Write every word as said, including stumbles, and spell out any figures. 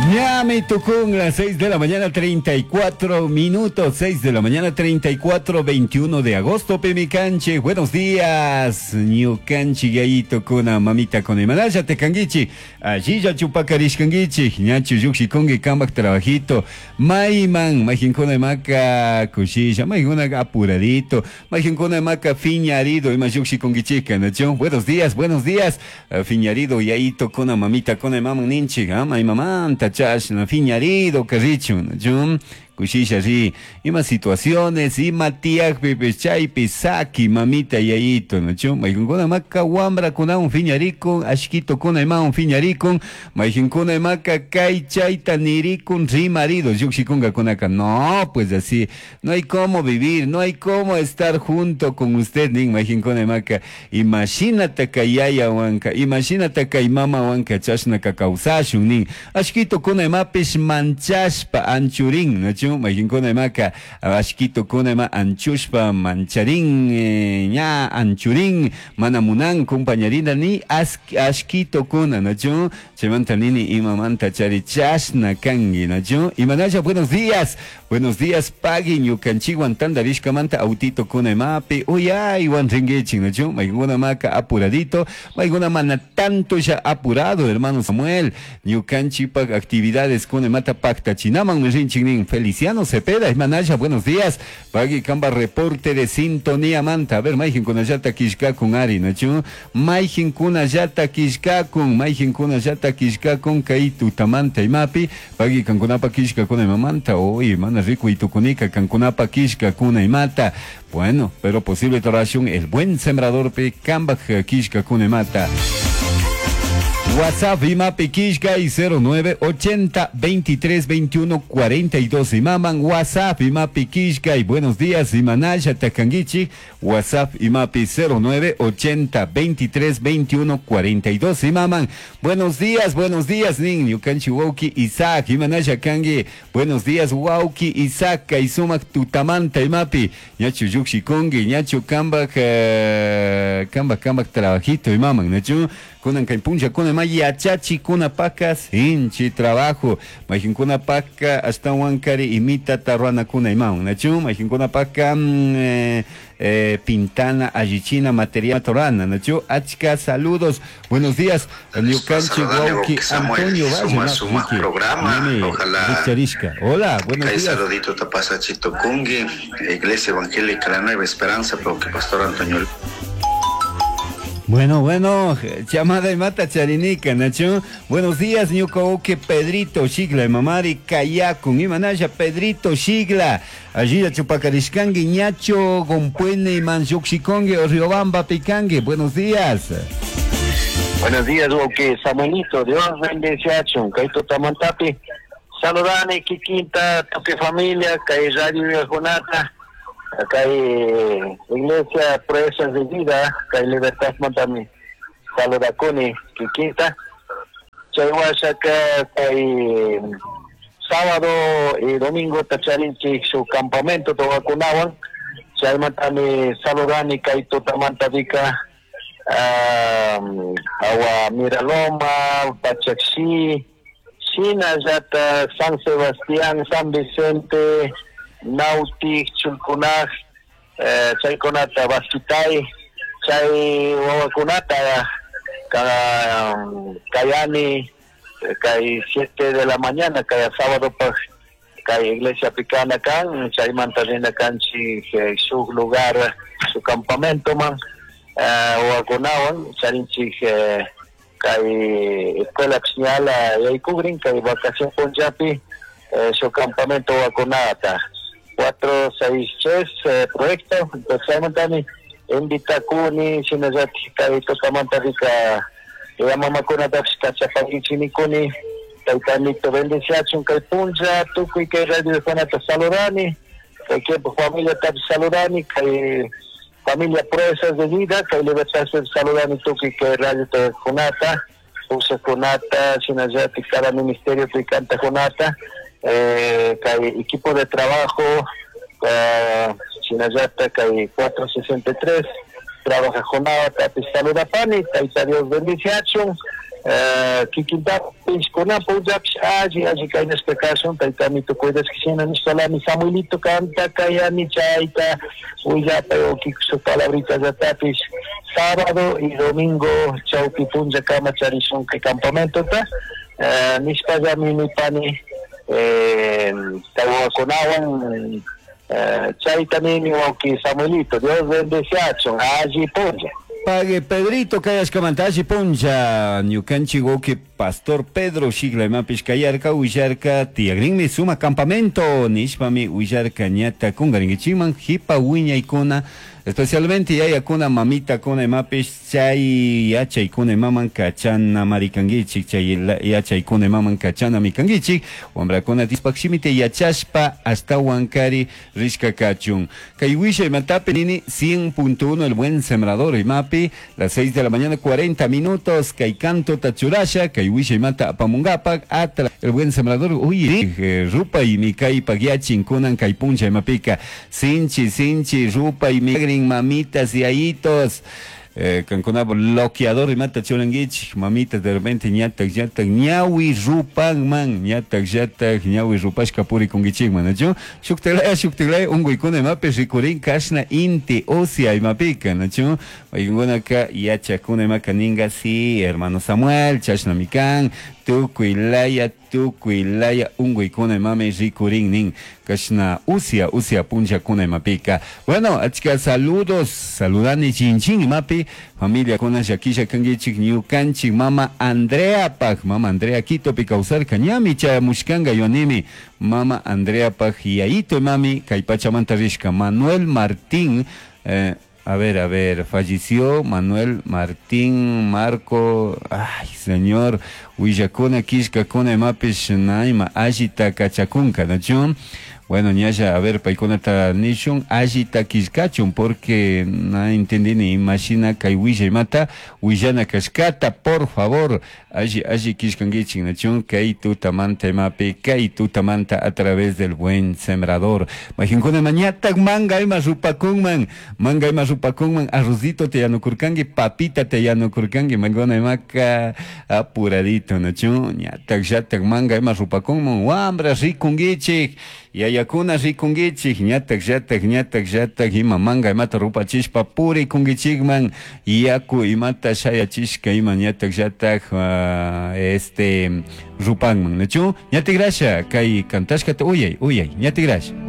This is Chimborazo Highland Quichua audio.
Ñami tukun las seis de la mañana treinta y cuatro minutos, seis de la mañana treinta y cuatro, veintiuno de agosto, pimicanche. Buenos días, ñukanchi yayitokuna, mamitakuna, imanalla kanguichi, allilla chupakarishkanguichi, ñachu llukshikungi kambak trabajito, mayman, mayjinkuna maka kushilla, mayjinkuna apuradito, mayjinkuna maka fiñarido, ima llukshikunguichika, nachu? Buenos días, buenos días, fiñarido yayitokuna, mamitakuna, maman ninchik, ah, maymamanta chashna fiñarido carrichun, nachu? Kushisha ri, ima situaciones, ima tiyakpipish chaypi saki mamita yayito, nachu? Mayjinkuna maka wambrakunawan fiñarikun, ashkitokuna imawan fiñarikun, mayjinkuna imaka kay chayta nirikun rimarido, llukshikunkakunaka, no, pues así, no hay cómo vivir, no hay cómo estar junto con usted, nin mayjinkuna imaka, imashinata kay yayawanka, imashinata kay mamawanka chashnaka kawsashun nin, ashkitokuna imapish manchashpa anchurin, nachu? Mayjinkuna imaka ashkitokuna ima anchushpa mancharin, eh, ña anchurin, mana munan compañerina ni ashkitokuna, nachu? Chaymanta nini imamanta chari chashna kangi, nachu? Imanalla, buenos días, buenos días, pagui ñukanchikwan tantarishkamanta autitokuna imapi uyaywan ringuichin, nachu? Mayjinkuna maka apuradito, mayjinkuna mana tanto ya apurado, hermano Samuel, ñukanchikpak actividades kuna imata paktachinaman rinchik nin. Feliciano Cepeda, imanalla, buenos días, pagui kamba reporte de sintonía manta. A ver, mayjinkunallata killkakun ari, nachu? Mayjinkunallata killkakun, mayjinkunallata killkakun kay tutamanta imapi, pagui kankunapa killkakuna imamanta, oye, mana riku itukunika kankunapa killkakuna imata. Bueno, pero posible torashun el buen sembrador pe kambak killkakuna imata. WhatsApp imapi killkay cero nueve ochenta veintitrés veintiuno cuarenta y dos imaman. WhatsApp imapi killkay. Buenos días, imanalla takanguichi. WhatsApp imapi cero nueve ochenta veintitrés veintiuno cuarenta y dos imaman. Buenos días, buenos días, nin ñukanchi wawki Isaac, imanalla kangi. Buenos días, wawki Isaac, kay sumak tutamanta imapi ñachu llukshikungi, ñachu kambak eh, kambak kambak trabajito imaman, nachu? Kunan kay punllakuna ima yachachikunapaka sinchi trabajo, mayjinkunapaka ashtawankari imitata ruranakuna imawan, nachu? Mayjinkunapaka mm, eh, eh, pintana, allichina material torana, nachu? Achka saludos, buenos días, ñukanchik wawki Antonio Valle. Suma, suma programa, ojalá. Hola, buenos kay días. Saludito tapasachito kungi, Iglesia Evangélica La Nueva Esperanza, que Pastor Antonio. Bueno, bueno, llamada y mata charinica, nachu. Buenos días, ñuka Pedrito Shigla, mamari kayakun, imanalla Pedrito Shigla. Allí chupacarishkangi, ñacho, gompuene, manchuxicongue, Riobamba, picangue. Buenos días. Buenos días, wawki Samuelito, Dios bendice. Kay tutamantapi. Saludani, kikinta, tukuy familia, kay Radio Jonata, kay Iglesia Proezas de Vida, kay Libertad Montami, saludakuni, kikinta. Chay washaka, kay sábado y domingo tacharinchik su campamento wawakunawan, chaymantami saludani kay tutamantapika um, awa Miraloma, Pachacxi, shinallata San Sebastián, San Vicente, Nautic, Chulcunaj, eh, chaykunata Basquitay, chay wawakunata ka, kayani kay siete de la mañana, kay sábado pa kay iglesia picana kan, chaymanta rina kanchik shuk lugar su campamento man wawakunawan charinchik eh, kay escuela señala yaykugrin kay vacación punllapi eh, su campamento wawakunata cuatro seis tres eh, proyecto. Entonces chaymantami invitakuni, shinallatik kay tutamanta rika mamakunatapish kachapankichinikuni. Taytanito bendiciachun kay punlla. Tukuy kay radio kunata saludani, kay tiempo familiatapish saludani, kay familia Proezas de Vida, kay Libertad saludani, tukuy kay radio kunata kunata, shinallatik cada ministerio kunata, eh, kay equipo de trabajo, eh, shinallata kay cuatro sesenta y tres trabaja jornada tapish saludapani. Tayta Dios bendiciachun. Kikintapis kunan punllapish alli alli kaynashka kashun taytamito cuidashka nishpalami Samuelito kanta kayani chayta willapay su palabritallatapis sábado y domingo chawpi punlla kama charishun kay campamentota nishpallami nipani tawakunawan chayta nini wawki Samuelito Dios bendeciachun alli punlla. Pague Pedrito kayashkamanta alli punlla ñukanchik wawki Pastor Pedro Shigla imapish kayarka willarka tiyakrinmi suma campamento nishpami willarka ñata kunkarinkichikman hipa wiñaykuna especialmente yayakuna mamitakuna imapish chay yachaykuna imaman kachana marikankichik chay yachaykuna imaman kachanami kankichik wambrakuna Diospaj shimita yachashpa ashtawan kari rishka kachun kay wisha imatapi nini cien punto uno el buen sembrador imapi las seis de la mañana cuarenta minutos kay canto tachurasha kay wisha imata apamungapak atra el buen sembrador uy rupa y mi kay pagyachin kunan kay puncha imapika sinchi sinchi rupa y mi mamitas y ayitos eh, kankuna bloqueador imata churankichik mamitas de repente ñatak ñatak ñawi rupanman ñatak ñatak ñawi rupashka purikunkichikman nachu shuktilaya shuktilaya unkuykuna imapi rikurin kashna inti usia imapika nachu paykunaka yachakuna imaka ninga si hermano Samuel chashnami kan tukuy laya tukuy laya unkuykuna imami rikurin nin kashna usia usia punllakuna imapika. Bueno, achka saludos saludani chinchin imapi familia kuna llakisha kankichik ñukanchik mama Andrea paj mama Andrea Quitopi kawsarka ñami chayamushkanka yuanimi mama Andrea paj yayito imami kay pachamanta rishka Manuel Martín eh, a ver, a ver, falleció Manuel Martín Marco, ay señor, willakuna kishkakuna imapish naima allita kachakunka, ¿no? Bueno, ñalla, a ver, paykunata nishun allita kishkachun, porque no entendí ni imagina kay willa imata, willana kashkata, por favor, alli, alli kishkankichik, nachun, kay tutamanta imapi, kay tutamanta a través del buen sembrador. Majinkuna mañatak manga ima rupakunman, manga ima rupakunman, arrozito te yanukurkanki, papita te yanukurkanki, mangona imaka apuradito, nachun, ñatak llatak manga ima rupakunman, wambra rikunkichik, yayakuna rikunkichik, ñatak llatak ñatak llatak ima manga imata rupachishpa purikunkichikman, yaku imata shayachishka ima ñatak llatak uh, este rupanman, nachu ñatigrasha kay kantashkata uyay uyay ñatigrasha.